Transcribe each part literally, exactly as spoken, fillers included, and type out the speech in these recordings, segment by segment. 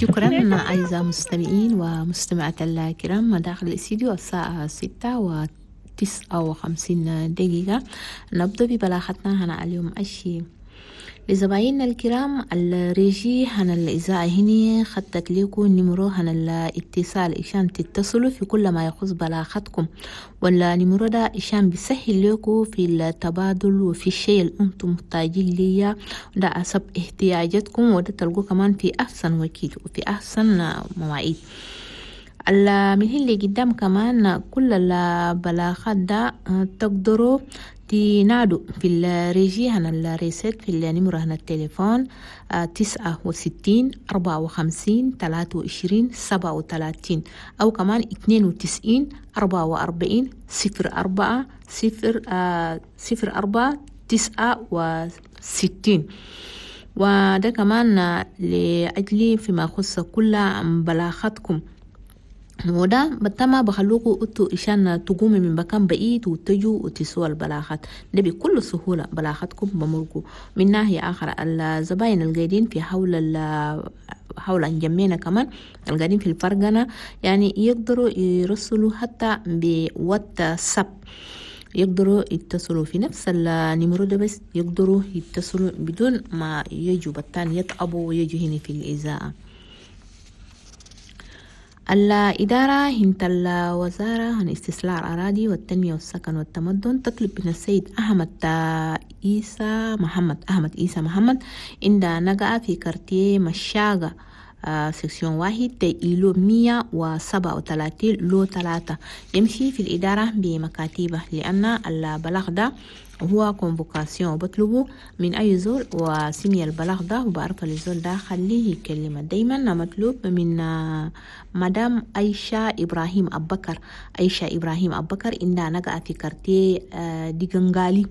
شكرا أعزائي المستمعين ومستمعات الكرام. داخل الاستديو الساعة ستة وتسعة وخمسين دقيقة. نبدأ ببلاغتنا هنا اليوم أشي لزبايننا الكرام. الريجي هنا الإذاعة هني خطت لكم numéro هنا الاتصال إشان تتصلوا في كل ما يخص بلاغتكم، ولا numéro ده إشان بيسهل لكم في التبادل وفي الشيء اللي أنتم محتاجين ليه، ده حسب احتياجاتكم، وده تلقوه كمان في أحسن وقت وفي أحسن مواعيد. من اللي قدام كمان كل البلاغات ده تقدروا تنادوا في ال régie هنا ال recette في ال numéro هنا التليفون تسعة وستين أربعة وخمسين تلاتة وعشرين سبعة وتلاتين، أو كمان اتنين وتسعين أربعة وأربعين صفر أربعة صفر صفر أربعة تسعة وستين. وده كمان لأجل فيما يخص كل بلاغاتكم، وده بتما بخلوكوا انتوا عشان تقوموا من مكان بعيد وتجوا وتسوا البلاغات ده بكل سهولة، بلاغاتكم بمرقوا. من ناحية آخر الزباين القاعدين في حول حول انجمينا كمان القاعدين في الفرقنة يعني يقدروا يرسلوا حتى بواتساب، يقدروا يتصلوا في نفس ال numéro ده، بس يقدروا يتصلوا بدون ما يجوا بالتاني يتعبوا ويجوا هنا في الإذاعة. الإدارة هنت الوزارة عن استصلاح الأراضي والتنمية والسكن والتمدن تطلب من السيد أحمد عيسى محمد أحمد عيسى محمد عند نقع في quartier مشاغة section واحد îlot مية وسبعة وثلاثين lot ثلاثة، يمشي في الإدارة بمكاتبه، لأن البلاغ ده هو convocation بطلبه من أي زول وسمي البلاغ ده وبعرف الزول ده خليه يكلمه. دايما مطلوب من مدام عائشة إبراهيم أبكر عائشة إبراهيم أبكر عندها نقع في quartier ديغنغالي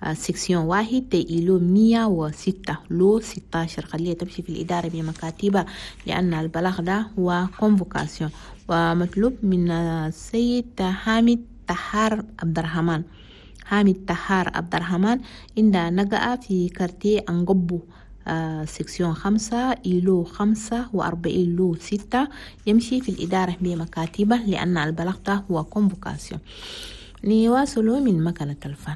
section واحد îlot مية وستة lot ستاشر، خليها تمشي في الإدارة بمكاتبة لأن البلاغ ده هو convocation. ومطلوب من السيد حامد تحار عبد الرحمن حامد تحار عبد الرحمن عند نقع في quartier أنقبو section خمسة îlot خمسة وأربعين lot ستة، يمشي في الإدارة بمكاتبة لأن البلاغ ده هو convocation. نواصلوا من مكنة الفن.